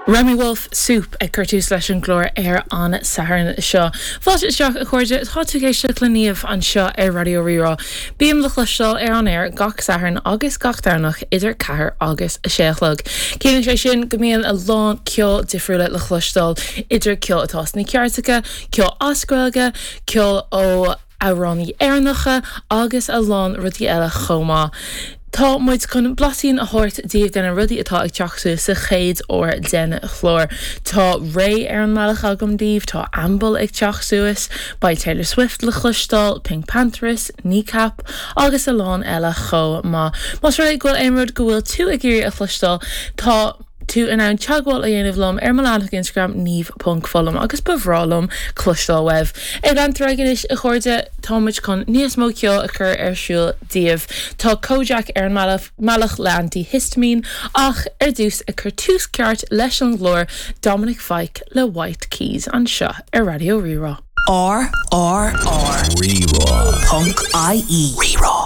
Remi Wolf, Soup ag cur tús leis an gclár ar an Satharn seo. Fáilte isteach a chairde, tá tú ag éisteacht le Niamh anseo ar Raidió Rí-Rá. Bím le cloisteáil ar an aer gach Satharn agus gach Domhnach idir 4 agus 6 a chlog. Ciallaíonn sé sin go mbíonn a lán ceol difriúla le cloisteáil, idir ceol atá sna cairteacha, ceol as Gaeilge, ceol ó. amhránaí Éireannacha agus a lán rudaí eile chomh maith. Tá muid chun blaisín a thabhairt daoibh de na rudaí atá ag teacht suas sa chéad uair den chlár. Tá Raye ar an mbealach agam daoibh, tá Ambel ag teacht suas, beidh Taylor Swift le cloisteáil, PinkPantheress, Kneecap agus a lán eile chomh maith. Más rud é go bhfuil aon rud go bhfuil tú ag iarraidh a chloisteáil, tá. tú in ann teagmháil a dhéanamh liom ar mo leathanach Instagram niamh.foghlaim agus ba bhreá liom cloisteáil uaibh. Ag leanacht ar aghaidh anois a chairde, tá muid chun níos mó ceoil a chur ar siúl daoibh. Tá Kojaque ar an mbealach le Antihistamine ach ar dtús ag cur tús ceart leis an gclár, Dominic Fike le White Keys anseo ar Raidió Rí-Rá. R R R. Rí-Rá. Ponc IE. Rí-Rá.